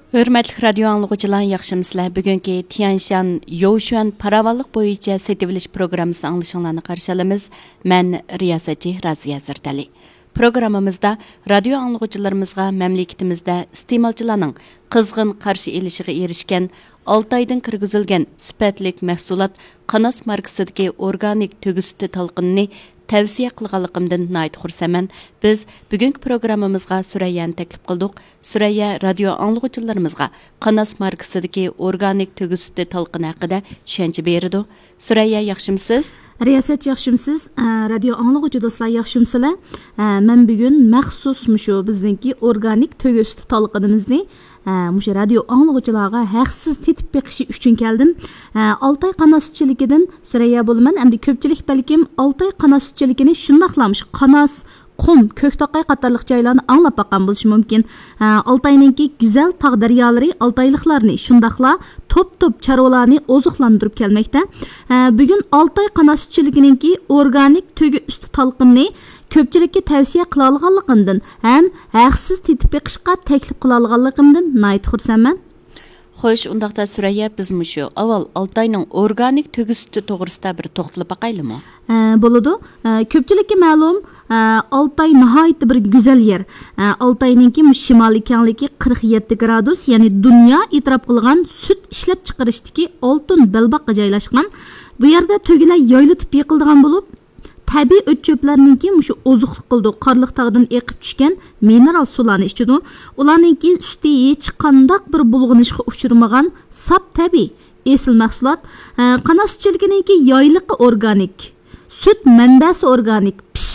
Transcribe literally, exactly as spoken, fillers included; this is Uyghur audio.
ھۆرمەتلىك رادىيو ئاڭلىغۇچىلار، ياخشىمۇسىلەر؟ بۈگۈنكى تيەنشان يوشۈەن پاراۋانلىق بويىچە سېتىۋېلىش پروگراممىسى ئاڭلىشىڭلارنى قارشى ئالىمىز. مەن رىياسەتچى رازىيە زەردەلى. پروگراممىمىزدا رادىيو ئاڭلىغۇچىلىرىمىزغا مەملىكىتىمىزدە ئىستېمالچىلارنىڭ قىزغىن قارشى ئېلىشىغا ئېرىشكەن ئالتايدىن كىرگۈزۈلگەن سۈپەتلىك مەھسۇلات قاناس ماركىسىدىكى ئورگانىك تۆگە سۈتى تالقىنىنى تەۋسىيە قىلغانلىقىمدىن ناھايىتى خۇرسەنمەن. بىز بۈگۈنكى پروگراممىمىزغا سۈرەييەنى تەكلىپ قىلدۇق. سۈرەييە رادىيو ئاڭلىغۇچىلىرىمىزغا قاناس ماركىسىدىكى ئورگانىك تۆگە سۈتى تالقىنى ھەققىدە چۈشەنچە بېرىدۇ. سۈرەييە، ياخشىمۇسىز؟ رىياسەتچى، ياخشىمۇسىز؟ ئە، رادىيو ئاڭلىغۇچى دوستلار، ياخشىمۇسىلەر؟ ئە، مەن بۈگۈن مەخسۇس مۇشۇ بىزنىڭكى ئورگانىك تۆگە سۈتى تالقىنىمىزنى، ئە، مۇشۇ رادىيو ئاڭلىغۇچىلارغا ھەقسىز تېتىپ بېقىشى ئۈچۈن كەلدىم. ئە، ئالتاي قاناس سۈتچىلىكىدىن سۈرەييە بولىمەن. ئەمدى كۆپچىلىك بەلكىم ئالتاي قاناس سۈتچىلىكىنى شۇنداقلا مۇشۇ قاناس، قۇم، كۆكتوقاي قاتارلىق جايلارنى ئاڭلاپ باققان بولۇشى مۇمكىن. ئە، ئالتاينىڭكى گۈزەل تاغ دەريالىرى ئالتايلىقلارنى، شۇنداقلا توپ-توپ چارۋىلارنى ئوزۇقلاندۇرۇپ كەلمەكتە. ئە، بۈگۈن ئالتاي قاناس سۈتچىلىكىنىڭكى ئورگانىك تۆگە ئۈستى تالقىنىنى كۆپچىلىككە تەۋسىيە قىلالىغانلىقىمدىن ھەم ھەقسىز تېتىپ بېقىشقا تەكلىپ قىلالىغانلىقىمدىن ناھايىتى خۇرسەنمەن. خوش، ئۇنداقتا سۈرەييە، بىز مۇشۇ ئاۋۋال ئالتاينىڭ ئورگانىك تۆگە سۈتى توغرىسىدا بىر توختىلىپ باقايلىمۇ؟ ئە، بولىدۇ. ئە، كۆپچىلىككە مەلۇم، ئە، ئالتاي ناھايىتى بىر گۈزەل يەر. ئە، ئالتاينىڭكى مۇشۇ شىمالىي كەڭلىكى قىرىق يەتتە گرادۇس، يەنى دۇنيا ئېتىراپ قىلغان سۈت ئىشلەپچىقىرىشتىكى ئالتۇن بەلباغقا جايلاشقان. بۇ يەردە تۆگىلەر يايلىتىپ يېقىلىدىغان بولۇپ، تەبىئىي ئۆت-چۆپلەرنىڭكى مۇشۇ ئوزۇقلۇق قىلىدۇ، قارلىق تاغدىن ئېقىپ چۈشكەن مىنېرال سۇلارنى ئىچىدۇ. ئۇلارنىڭكى سۈتى ھېچقانداق بىر بۇلغىنىشقا ئۇچرىمىغان ساپ تەبىئىي ئېسىل مەھسۇلات. ئە، قاناس سۈتچىلىكىنىڭكى يايلىقى ئورگانىك، سۈت مەنبەسى ئورگانىك، پىششىق